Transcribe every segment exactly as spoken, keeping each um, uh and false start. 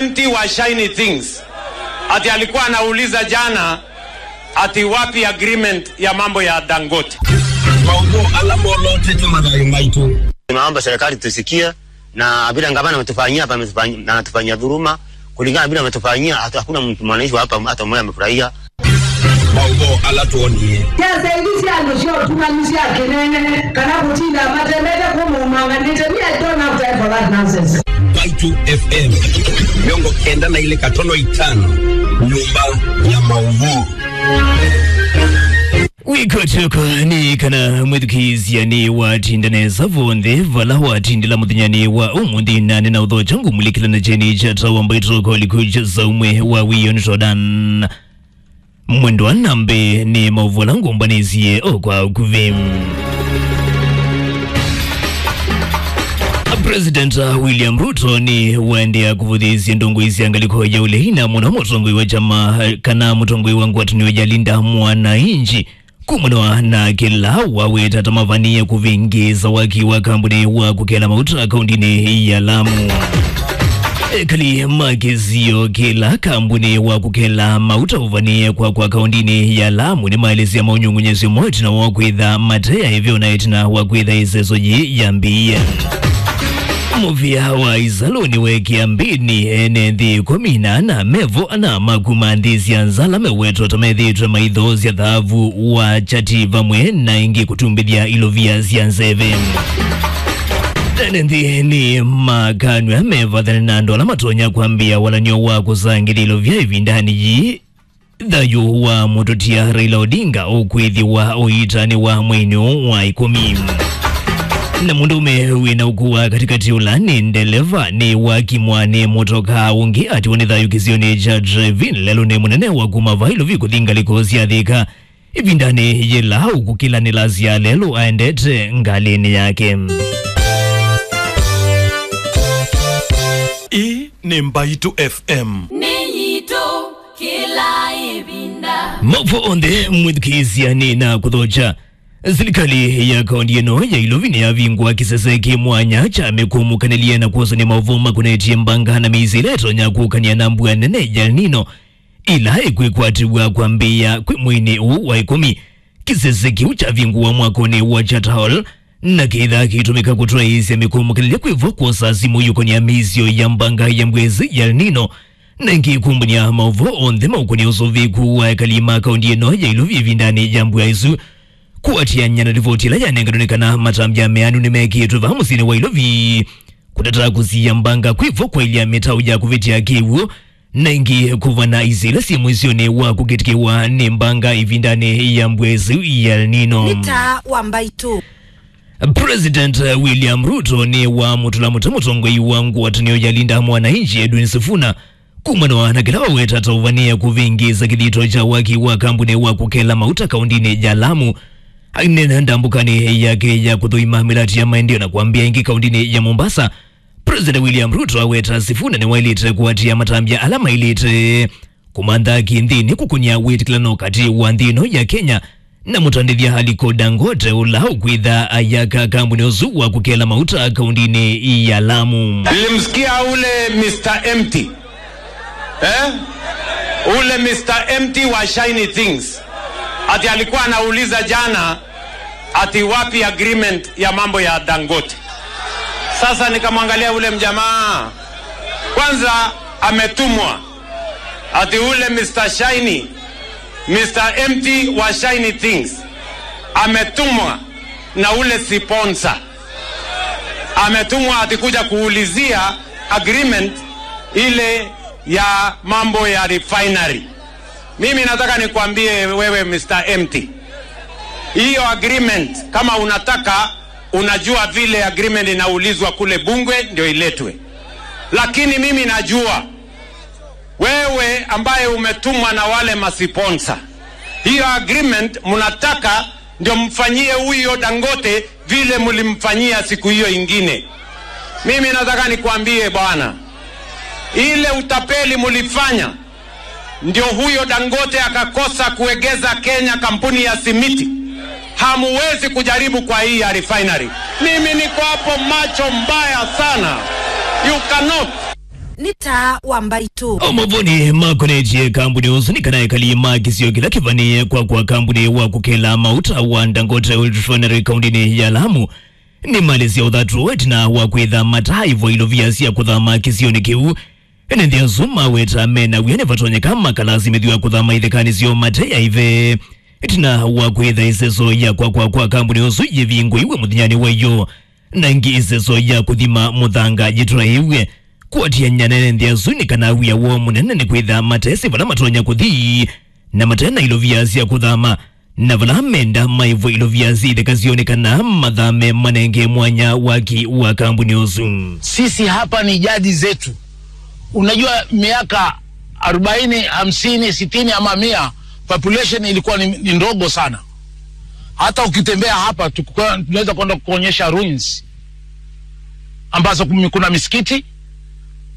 Empty wa shiny things. Ati alikuwa anauliza jana ati wapi agreement ya mambo ya Dangote. Maũvoo ala molotete mathayũ maitũ. Tunaomba serikali tusikie, na vile gavana ametufanyia hapa, ametufanyia, na anatufanyia dhuluma. Kulingana vile ametufanyia, hatu-, hakuna mtu, mwananchi wa hapa hata mmoja amefurahia. Maũvoo ala twonie. Sya saithi sya andũ sya ũtumanu sya kĩnene, kana kũtinda matemete kũmũmanganĩte, me I don't have time for that nonsense. Mbaitũ F M, mĩongo kenda na ilĩ katono itano, nyũmba ya maũvoo. Wĩkotyoka nĩ kana mwĩthukĩĩsya nĩ watinda nesa vonthe vala watindĩla mũthenyanĩ wa ũmũnthĩ, na nĩ na ũthokya ngũmulĩkĩla na kyeni kya tawa mbaitũ kolikucha za ũmwe wa wĩyo nĩ todan. Mwendwa nambe nĩ maũvoo ala ngũmbanĩsye o kwa ũkuvĩ. President William Ruto nĩ waendeea kũvũthĩĩsya ndongoi sya ngalĩko ya ũlei na mũno mũtongoi wa kyama kana mũtongoi wa ngwatanĩo ya Linda Mwananchi kumana na kĩla waweta ta mavanie kũvĩngĩĩsa waki wa kambuni wa kũkela mauta kaũndĩnĩ ya Lamu. Ekali ma kĩsio kĩla kambuni wa kũkela mauta ũvanie kwa kwa kaũndĩnĩ ya Lamu nĩmaelesya maũnyũng'ũnyĩsyo moo ĩtina wa kwĩtha mateya ĩveo na ĩtina wa kwĩtha ĩseso yĩĩ yambĩĩe. Mũvĩa wa ĩsalũ nĩweekĩa mbĩnĩ ene nthĩ ĩkũmi na ana mevo ana ma kuma nthĩ sya nza ala mewetwa ta methĩĩtwe maithoosya thaavu wa kyati vamwe na ĩngĩ kũtumbĩthya ilovia sya nzeve. Ene nthĩ nĩ makanw'a mevathane na andũ ala matonya kwambĩĩa walany'o wa kũsangĩthya ilovia ĩvindanĩ yĩĩ. Thayũ wa mũtũtia Raila Odinga ũkwĩthĩwa ũitanĩwa mweinĩ ũũ wa ĩkũmi. Na mũndũũme wĩna ũkũũ wa katĩkatĩ ũla nĩ ndeleva nĩ wakimwa nĩ mũtokaa ũngĩ atiwa nĩ thayũ kĩsionĩ kya Trevin lelũnĩ mũnene wa kuma vailovi kũthi ngalĩko sya Thika. Ĩvindanĩ yĩla ũkũkĩlanĩlasya lelũ aendete ngalĩnĩ yake. Ĩĩ nĩ Mbaitũ F M. Nĩ yitũ. Kĩla ĩvinda. Maũvoo onthe mwĩthukĩĩsya nĩ na kũthokya. Silikalĩ ya kaũntĩ ĩno ya Ilovi nĩyavingũa kĩsese kĩ mwanya kya mĩkũmũkanĩlye na kwosany'a maũvoo makonetye mbanga na mĩisyo ĩla ĩtonya kũkany'a na mbua nene ya El Nino ĩla ĩkwĩkwatĩw'a kwambĩĩa kwĩ mweinĩ ũũ wa ĩkũmi. Kĩsese kĩu kyavingũwa mwakonĩ wa Charter Hall na kĩthaa kĩitũmĩka kũtwaĩĩsya mĩkũmũkanĩlye kwĩ vo kwosa simũ yũkonĩa mĩisyo ya mbanga ya mbwezi ya El Nino, na ĩngĩ kũmbany'a maũvoo onthe maũkonĩa ũsũvĩĩku wa ekali ma kaũntĩ ĩno ya Ilovi ĩvindanĩ ya mbua ĩsu. Kũatĩanĩa na livoti ĩla yanenganwe nĩ kana matambya meanu nĩmekĩĩtwe vaa mũsyĩnĩ wa Ilovi kũtata kũsiĩa mbanga kwĩ vo kwaĩlya mĩtaũ ya kũvĩtya kĩw'ũ na ĩngĩ kũvana isio ila syĩ mũisyonĩ wa kũkĩtĩkĩwa nĩ mbanga ĩvindanĩ ya mbua ĩsu ya El Nino. Nĩ taa wa mbaitũ. President William Ruto nĩ wamũtũla mũtĩ mũtongoi wa ngwatanĩo ya Linda Mwananchi Edwin Sifuna kumana na kĩla waweta ta ũvanĩe kũvĩngĩĩsa kĩthito kya waki wa kambuni wa kũkela mauta kaũndĩnĩ ya Lamu. Aineena ndambũkanĩ yake ya kũthũima mĩlati ya maendeeo na kwambĩa ĩngĩ kaũndĩnĩ ya Mombasa, President William Ruto aweta Sifuna nĩwaĩlĩte kũatĩĩa matambya ala maĩlĩte kũmantha kĩnthĩnĩ kũkũnĩa wĩtĩkĩlano katĩ wa nthĩ ĩno ya Kenya na mũtandĩthya Aliko Dangote, ũla ũkwĩtha ayaka kambuni ũsu wa kũkela mauta kaũndĩnĩ ya Lamu. Nilimsikia ule Mister Empty. Eh? Ule Mister Empty wa Shiny Things. Ati alikuwa anauliza jana ati wapi agreement ya mambo ya Dangote. Sasa nikamwangalia ule mjamaa. Kwanza ametumwa. Ati ule Mister Shiny, Mister Empty wa Shiny Things. Ametumwa na ule sponsor. Ametumwa ati kuja kuulizia agreement ile ya mambo ya refinery. Mimi nataka nikwambie wewe Mister Empty. Hiyo agreement, kama unataka, unajua vile agreement inaulizwa kule bunge ndio iletwe. Lakini mimi najua wewe ambaye umetumwa na wale masiponsa, hiyo agreement mnataka ndio mfanyie huyo Dangote vile mlimfanyia siku hiyo ingine. Mimi nataka nikwambie bwana, ile utapeli mlifanya ndio huyo Dangote akakosa kuegeza Kenya kampuni ya simiti. Hamuwezi kujaribu kwa hii ya refinery. Mimi niko hapo macho mbaya sana. You cannot. Nĩ taa wa mbaitũ. O mavoni makonetye kambuni ũsu nĩ kana ekali ma kĩsio kĩla kĩvanĩe kwa kwa kambuni wa kũkela mauta wa Dangote Oil Refinery kaũndĩnĩ ya Lamu nĩmalĩsya ũthatu ĩtina wa kwĩtha mataĩvwa ilovia sya kũthama kĩsionĩ kĩu. Ene nthĩ asu maweta mena wia nĩvatonyeka makalasimĩthw'a kũthama ithekanĩ syoo mate aive. Ĩtina wa kwĩtha ĩseso ya kwakwa kwa kambuni ũsu yĩvingũiwe mũthenyanĩ wa ĩyo, na ĩngĩ ĩseso ya kũthima mũthanga yĩtwaĩwe kũatĩan'ya na ene nthĩ asu nĩ kana wia woo mũnene nĩ kwĩtha matesĩ vala matonya kũthi na mate na ilovia sya kũthama, na vala menda maĩvwe ilovia syĩ itheka syoo nĩ kana mathame manenge mwanya waki wa kambuni ũsu. Sisi hapa ni jadi zetu. Unajua, miaka arobaini, hamsini, sitini ama mia, population ilikuwa ni, ni ndogo sana. Hata ukitembea hapa, tukua- tunaweza kwenda kuonyesha ruins ambazo kumi- kuna misikiti,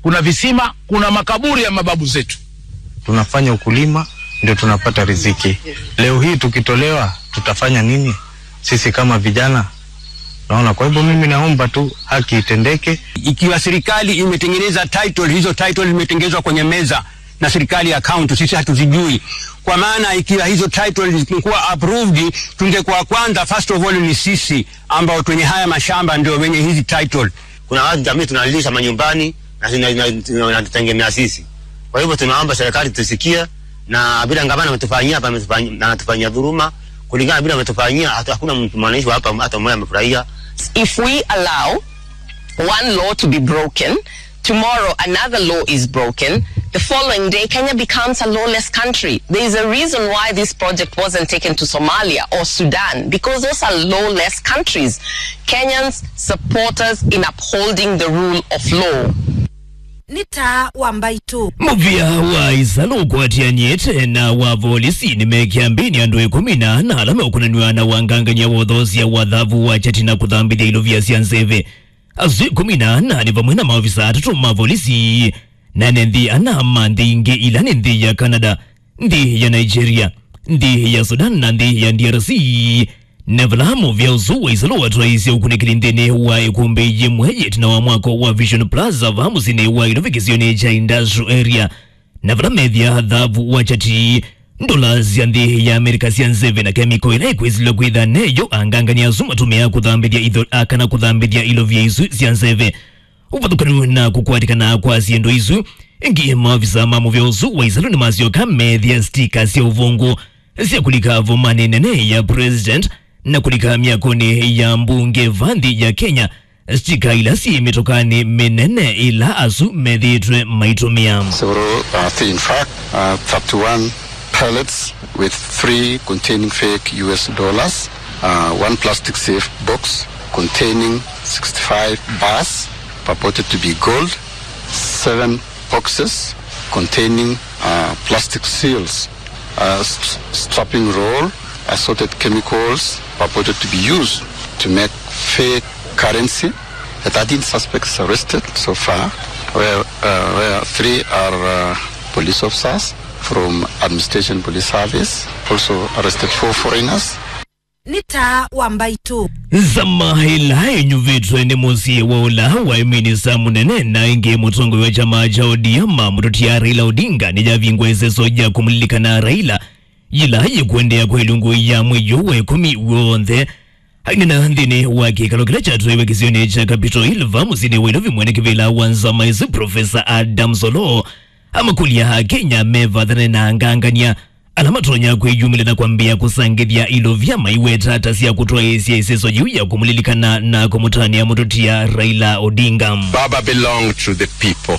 kuna visima, kuna makaburi ya mababu zetu. Tunafanya ukulima ndio tunapata riziki. Leo hii tukitolewa, tutafanya nini sisi kama vijana? Naona, kwa hivyo mimi naomba tu haki itendeke. Ikiwa serikali imetengeneza title, hizo title zimetengenezwa kwenye meza na serikali ya county, sisi hatuzijui. Kwa maana ikiwa hizo title zingekuwa approved, tungekuwa kwanza, first of all, ni sisi ambao twenye haya mashamba ndio wenye hizi title. Kuna watu jamii tunalisha manyumbani na tuna- na- na- tunatutegemea sisi. Kwa hivyo tunaomba serikali tusikie, na vile gavana ametufanyia hapa, ametufanyia- na anatufanyia dhuluma kulingana vile ametufanyia. Hata hakuna mtu mwananchi wa hapa hata mmoja amefurahia. If we allow one law to be broken, tomorrow another law is broken, the following day Kenya becomes a lawless country. There is a reason why this project wasn't taken to Somalia or Sudan, because those are lawless countries. Kenyans support us in upholding the rule of law. Nĩ taa wa mbaitũ. Mũvĩa wa ĩsalũ ũkwatĩanĩte na wa volisi nĩmekiambĩnĩ andũ ĩkũmi na ana ala meũkonanw'a na wangangany'a wa ũthoosya wa thavu wa kyati na kũthambĩthya ilovia sya nzeve. Asu ĩkũmi na ana nĩ vamwe na maovisa atatũ ma volisi na ene nthĩ ana ma nthĩ ingĩ ila nĩ nthĩ ya Canada, nthĩ ya Nigeria, nthĩ ya Sudan na nthĩ ya D R C. Na vala mũvĩa ũsu wa ĩsalũ watwaĩĩsye ũkunĩkĩli nthĩnĩ wa ĩkũmbĩ yĩmwe yĩtina wa mwako wa Vision Plaza vaa mũsyĩnĩ wa Ilovi kĩsionĩ kya Industrial Area, na vala methĩa thavu wa kyati, ndola sya nthĩ ya Amerika sya nzeve na kemiko ĩla ĩkwĩsĩlwa kwĩtha neyo angangany'a asu matũmĩaa kũthambĩthya itho- a, kana kũthambĩthya ilovia isu sya nzeve. Ũvathũkanu na kũkwatĩkana kwa syĩndũ isu, ĩngĩ maovisa ma mũvĩa ũsu wa ĩsalũ nĩmasyoka meethĩa stika sya ũvũngũ sya kũlika vomanĩ nene ya president na kũlika myakonĩ ya mbunge va nthĩ ya Kenya, stika ila syĩ mĩtokanĩ mĩnene ĩla asu methĩĩtwe maitũmĩa. Several, uh, thi- in fact, uh, thirty-one pallets with three containing fake U S dollars, uh, one plastic safe box containing sixty-five bars purported to be gold, seven boxes containing, uh, plastic seals, uh, st- strapping roll, assorted chemicals purported to be used to make fake currency. The thirteen suspects arrested so far, where, uh, where three are, uh, police officers from Administration Police Service. Also arrested four foreigners. Nĩ taa wa mbaitũ. Nzama ĩla ĩnyuvĩtwe nĩ mũsyĩ wa ũla waĩ minista mũnene na ĩngĩ mũtongoi wa kyama kya O D M, mũtũtia Raila Odinga, nĩyavingwa ĩseso ya kũmũlilikana Raila, yĩla yĩkũendeea kwa ĩlungu ya mwei ũũ wa ĩkũmi w'onthe. Ainena nthĩnĩ wa kĩkalo kĩla kyatwaiwe kĩsionĩ kya Capitol Hill vaa mũsyĩnĩ wa Nairobi, mwene kĩvĩla wa nzama ĩsu, Profesa Adams Oloo, amakũlya Akenya mevathane na angangany'a ala matonya kwĩyumĩlya na kwambĩĩa kũsangĩthya ilovia maiweta ta sya kũtwaĩĩsya ĩseso yĩu ya kũmũlilikana na kũmũtanĩa mũtũtia Raila Odinga. Baba belonged to the people.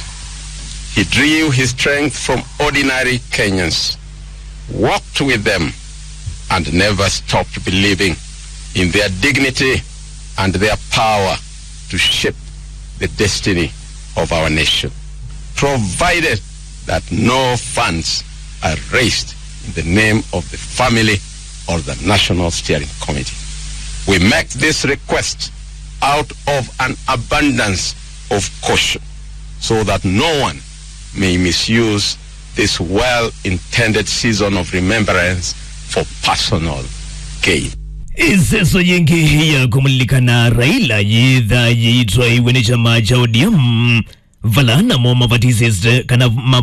He drew his strength from ordinary Kenyans, walked with them, and never stopped believing in their dignity and their power to shape the destiny of our nation, provided that no funds are raised in the name of the family or the National Steering Committee. We make this request out of an abundance of caution so that no one may misuse this well-intended season of remembrance for personal gain. Ĩseso yĩngĩ ya kũmũlilikana Raila yĩtha yĩitwaĩwe nĩ kyama kya O D M Vala namo mavatisĩte kana ma